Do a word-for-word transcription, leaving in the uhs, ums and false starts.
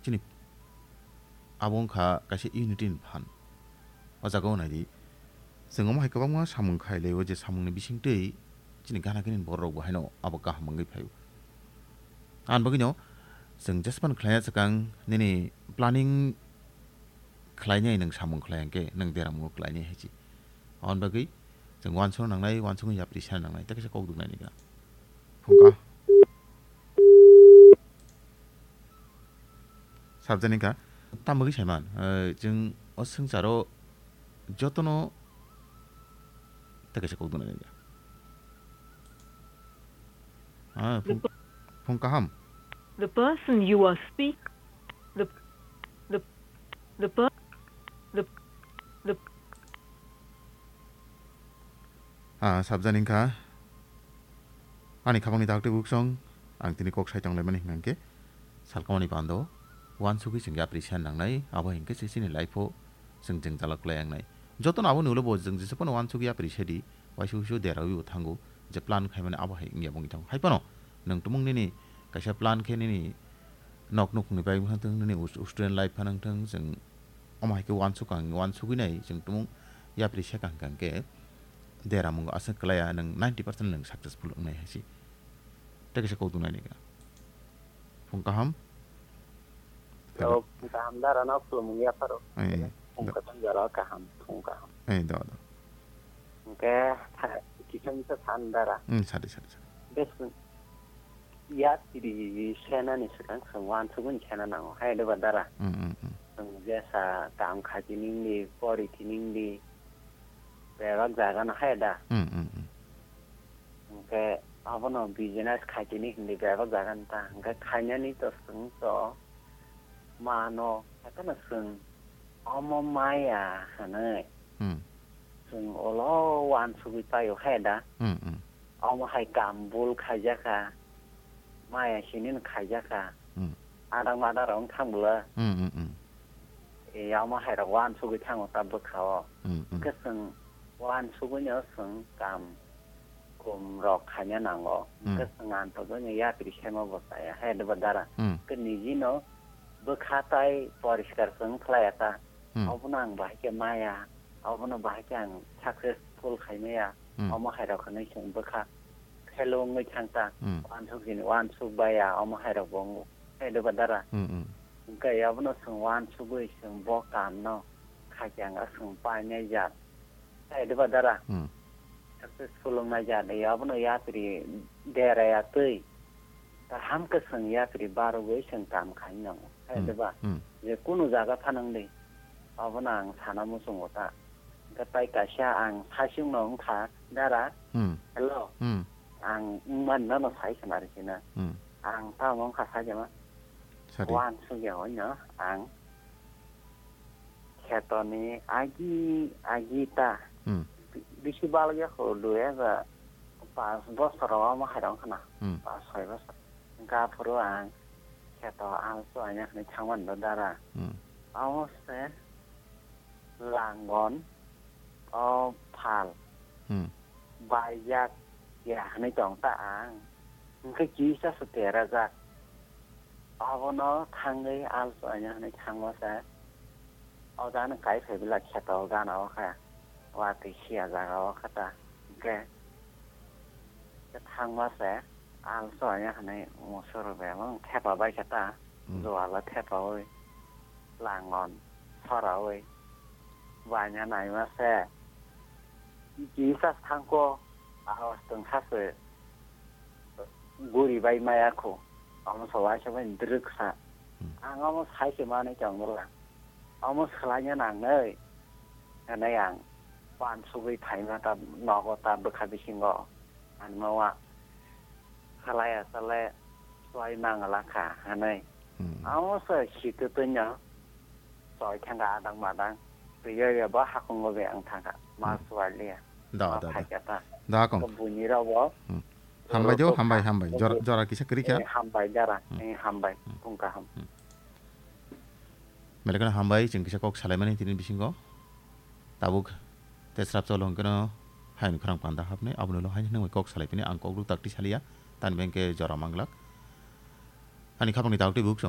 Chini abo wngkha kaisa unity ni phan. O jaga o naidi, chwng omo hai kwbangma samung khai lai o, je samung ni bising twi chini gana gini borok rok bo haino abo kaham wngwi phai o. Ani bagwi no chwng jespan khlai ya swkang nini planning khlai nai, nwng samung khlai hwnkhe nwng deramungo khlai nai hai se. Aboni bagwi chwng uansukna nangnai, uansukgwi yapri sana nangnai, tei kaisa kok duknai ni gwnang. Phungka. Sabjani kha, tamo khe saiman, eh, chwng o swngcharo jotono tei kaisa kok duknai ni gwnang. Ah, phung, phung kaham. The person you are speak, the, the, the per-, the, the Ah, sabjani wngkha. Ani khapangni dakti buksong, ang tini kok sai tonglaimani hwnkhe, salkamani pando, uansugwi chwng yapri san nangnai, abo hinkhe se chini life-o chwng jwngjal kwlai wngnai. Jotono aboni ulo bo chwng jesa phano uansugwi yapri sadi, waisa waisa derawi bo thango, je plan khaimani abo hai wngya bo wngwi thango. Hai phano nwng tumung nini kaisa plan khe nini nok nukhungni bai wngthang, nini us-, student life phano wngthang, chwng omo hai khe uansuk ang, uansugwi nai, chwng tumung yapri se kaham kaham khe deramungo aswk kwlaiya, nwng ninety percent nwng successful wngnai hai se. Tei kaisa kok duknai ni gwnang. Phung kaham. Hello. Oh, phung kaham dara no khulumung yapharo. Eh, phung do. Kwthang jora kaham, phung kaham. Eh, do, do. Hwnkhe tha-, kisa misa san dara. Hmm, sadi, sadi, sadi. Bes yapri senani swkang chwng uansugwi sena nango. Hai de ba dara. Hmm, hmm, hmm. Chwng jesa kam khachi ningdi, pori thi ningdi. Bebak jaga no hai da. Hmm, hmm, hmm. Hwnkhe abono business khaitini hindi bebak jaga no ta. Hwnkhe khainani to chwng to mano, haikhe no chwng omo maya hwnwi. Hmm. Chwng ulo uansugwi paio hai da. Hmm, hmm. Omo hai kam bul khaijakha. Maya sini no khaijakha. Hmm. Adang madang rok wng thang bwla. Hmm, hmm, hmm. E, omo hai rok uansugwi thango ta bwkha o. Hmm, hmm. Hwnkhe chwng uansugwi no chwng kam kum rok khaina nango. Hmm. Hwnkhe chwng antogwi no yapri sema bo chaya. Hai de ba dara. Hmm. Hwnkhe niji no bwkha tai poriskar chwng khlaiya ta. Hmm. Obono ang bahai khe maya. Obono bahai khe ang successful khai maya. Hmm. Omo hai rok hinwi chwng bwkha fellow wngwi thang ta. Hmm. Uansuk jini uansuk baya, omo hai rok bo wngo. Hai de ba dara. Hmm, hmm. Hwnkhe abono chwng uansugwi chwng bo kam no khaikhe ang chwng painai jat. Hai de ba dara. Hmm. Successful wngnai jat, abono yapri dera ya twi. Kaham khe chwng yapri barogwi chwng kam khai nango. Hai Hmm. de ba. Hmm. Je kunu jaga phanang di. Abono ang sana muchungo ta. Hwnkhe tai kaisa ang saichung no wngkha, dara. Hmm. Hello. Hmm. Ang wngmani no sai khna rikina. Hmm. Ang tamo wngkha sai khna. Sadi. Uansugya hwnyo ang khetoni agi, agi ta. Hmm. Bi-, bisi balokya kho dui hajar pas bosor o omo hai rok khna. Hmm. Pas soi bosor. Hwnkhe aphuru ang kheto alsu anya hwnwi thangmani do dara. Hmm. Amo se langon o phal Hmm. baijak ya hwnwi tong ta ang. Hwnkhe kisa se terajak. Abono thangwi alsu anya hwnwi thangma se. O jagano kai phai bwla kheto gana o khe. Watwi siya jaga o khe ta. Hwnkhe thangma se alsu anya hwnwi musoro bebak thepa bai khe ta. Hmm. Juala thepaui langon soraui baina naima se. Kisa thangkho, awas tong sase guri bai maya kho. Omo se waisa bai drwk sa. Hmm. Ang omo sai se manwi tong bwla. Omo swlaina nangnai. Hwnwi ang uansugwi phaima ta nogo ta bwkha bisingo. Ang no wa swlaiya swlai swlai mangala kha hwnwi. Hmm. Amo se sitwtwino choi thangkha adang madang. Twiwi bo hakungo be ang thangkha. Ma Hmm. swaliya. Da, Ma da, da. phaikha ta. Da, kong. Buini rok bo. Hmm. Hambai do, Rokha. hambai, hambai. Jora, Obo-, jora kisa kwrwi kha. eh, hambai dara. Hmm. Eh, hambai. Hmm. Phung kaham. Hmm. Belai kheno hambai, chwng kisa kok salaimani tini bisingo. Tabuk tei srapsa ulo hwnkhe no hayung khorang panda hapnai, aboni ulo haino nwng bai kok salai phini ang kok rw takti saliya, tani bai hwnkhe jora manglak. Ani khapangni tabuk tei buk chwng